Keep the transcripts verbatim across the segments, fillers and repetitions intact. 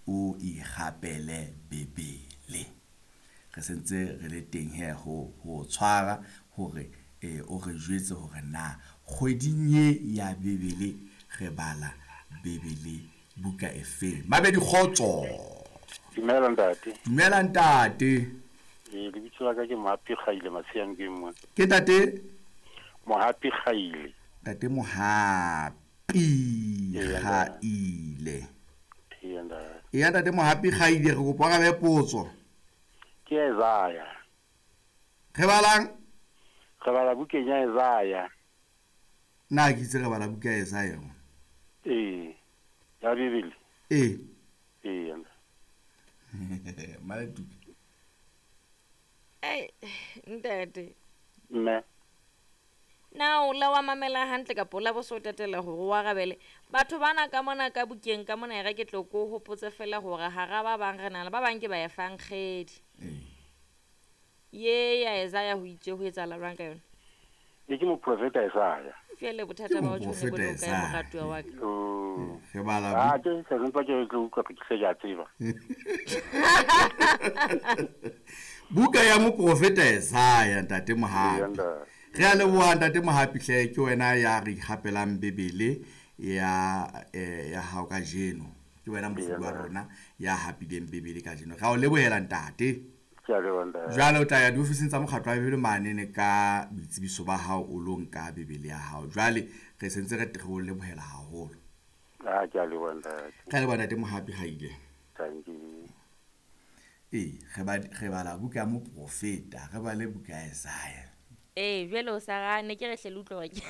o ikgapele Bibele. Re sentse re le teng he ho ho tshwara hore eh o re jwetse hore na kgweding ye ya Bibele re bala Bibele buka efe. Mabedi kgotso. Dumela ntate. Dumela ntate. Eh lebitso la ka ke Mohapi Kgaile Matshiang ke mo. Ke ntate Mohapi Kgaile. Ntate Mohapi Kgaile. Ee ntate. Ee ntate Mohapi Kgaile re kopa ka be potso. Ke Isaiah. Re balang? Re bala bukeng ya Isaiah. Na ke itse re bala buka ya Isaiah. Ee. Ya Bibele. Ee. Ee. Maletu. Ei, ntate. Mme. Na o la wa mamela hantle kapa o la bo so tatela hore o arabele. Batho bana ka mona ka bukeng ka mona e re ke tlo ko hopotse fela hore hara ba bang re na le ba bang ke ba efankgedi. Ee. Ye ya Isaiah ho itse ho etsahala jwang ka yona? E ke moprofeta Isaiah. Jwale bothata ba ho tshwane bo le kae moratuwa wa ka? Oh. Re bala Ah, ke se mpa ke tlo utlwa ke se ke a tseba. Buka ya moprofeta Isaiah ntate Mohapi. Re a leboha ntate Mohapi hle ke wena ya re ikgapelang Bibele ya eh ya hao kajeno. Ke wena mofuwa wa rona ya hapileng Bibele kajeno. Re a o lebohela ntate. Ke a leboha ntate. Jwale o tla ya diofising tsa mokgatlo wa Bibele mane ne ka boitsebiso ba hao o lo nka Bibele ya hao. Jwale re sentse re re o lebohela haholo. Ah, ke a leboha ntate. Re a leboha ntate Mohapi Kgaile. Thank you. Ee, re ba re bala buka ya moprofeta, re bale buka ya Isaiah. Ee, jwale o sa gane ke re hle le utlwe hore ke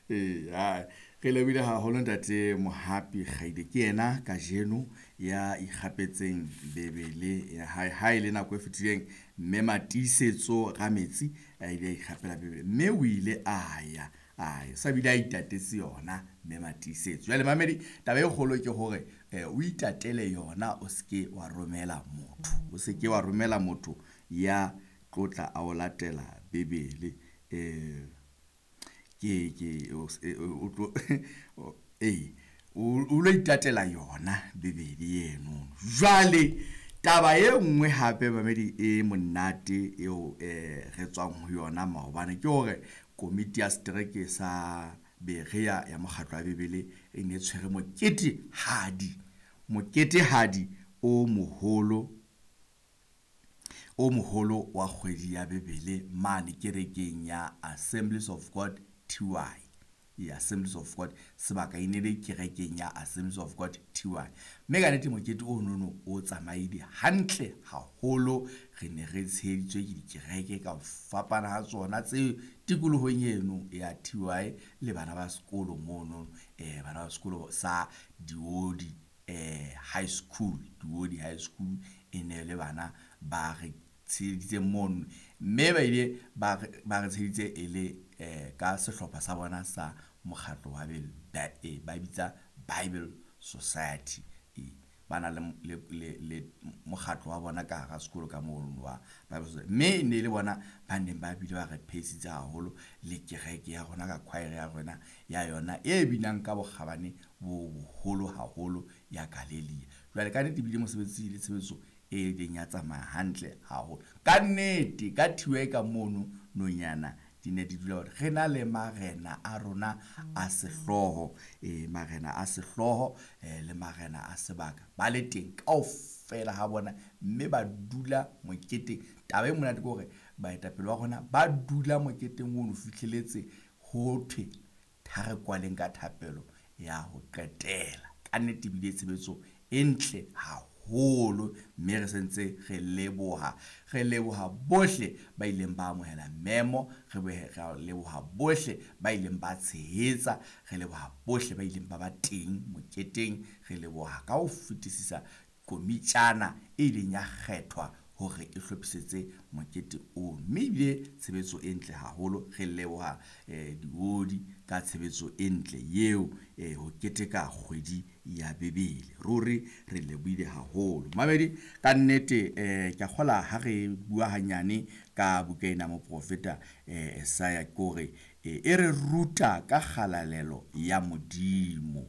Ee, hai, re lebohile haholo ntate Mohapi Kgaile. Ke yena kajeno ya ikgapetseng Bibele ya hae. Ha e le nako e fetileng mme Matiisetso Rametsi a ile a ikgapela Bibele mme o ile a ya a ya sa bile a itatetse yona mme Matiisetso. Jwale mamedi, taba e kgolo ke hore eh o itatele yona, o seke wa romela motho, o seke wa romela motho ya tlotla a o latela Bibele. Eh ke ke o o tlo eh o lo itatela yona Bibele eno. Jwale taba e nngwe hape mamedi e monate eo eh re tswang ho yona maobane ke hore komiti ya setereke sa Berea ya mokgatlo wa Bibele e ne tshwere mokete hadi mokete hadi o moholo o moholo wa kgwedi ya Bibele mane kerekeng ya Assemblies of God T Y. Ya Assemblies of God sebaka e ne le kerekeng ya Assemblies of God T Y. Mme ka nnete mokete o nono o tsamaile hantle haholo. Re ne re tsheheditswe ke dikereke ka ho fapana ha tsona tse tikolohong eno ya T Y le bana ba sekolo mono, eh bana ba sekolo sa Diodi eh High School, Diodi High School e ne le bana ba re tsheheditse mono, mme ba ile ba re, ba re tsheheditse e le eh ka sehlopha sa bona sa mokgatlo wa ba, eh, ba bitsa Bible Society. Eh, ba na le, le, le, le mokgatlo wa bona ka hara sekolo ka mono wa Bible Society. Mme e ne le bona ba neng ba bile ba re pheisitse haholo le kereke ya rona ka choir ya rona ya yona e binang ka bokgabane bo boholo haholo ya Galelia. Jwale ka nnete ebile mosebetsi le tshebetso e ileng ya tsamaya hantle haholo. Ka nnete ka thiwe ka mono nonyana di ne di dula hore re na le marena a rona a sehlooho, eh marena a sehlooho eh le marena a sebaka ba le teng kaofela ha bona, mme ba dula moketeng. Taba e monate ke hore baetapele ba rona ba dula moketeng ono fihleletse ho thwe ha re kwaleng ka thapelo ya ho qetela. Ka nnete ebile tshebetso e ntle haholo, mme re sentse re leboha, re leboha bohle ba ileng ba amohela memo, re be re leboha bohle ba ileng ba tshehetsa, re leboha bohle ba ileng ba ba teng moketeng, re leboha ka ho fetisisa komitjana e ileng ya kgethwa hore e hlophisetse mokete ono, mme ebile tshebetso e ntle haholo. Re leboha eh diodi ka tshebetso e ntle eo eh ho keteka kgwedi ya Bibele. Ruri re lebohile haholo. Mamedi, ka nnete eh ke a kgola ha re bua hanyane ka buka ena moprofeta eh Isaiah, ke hore e re ruta ka kgalalelo ya Modimo.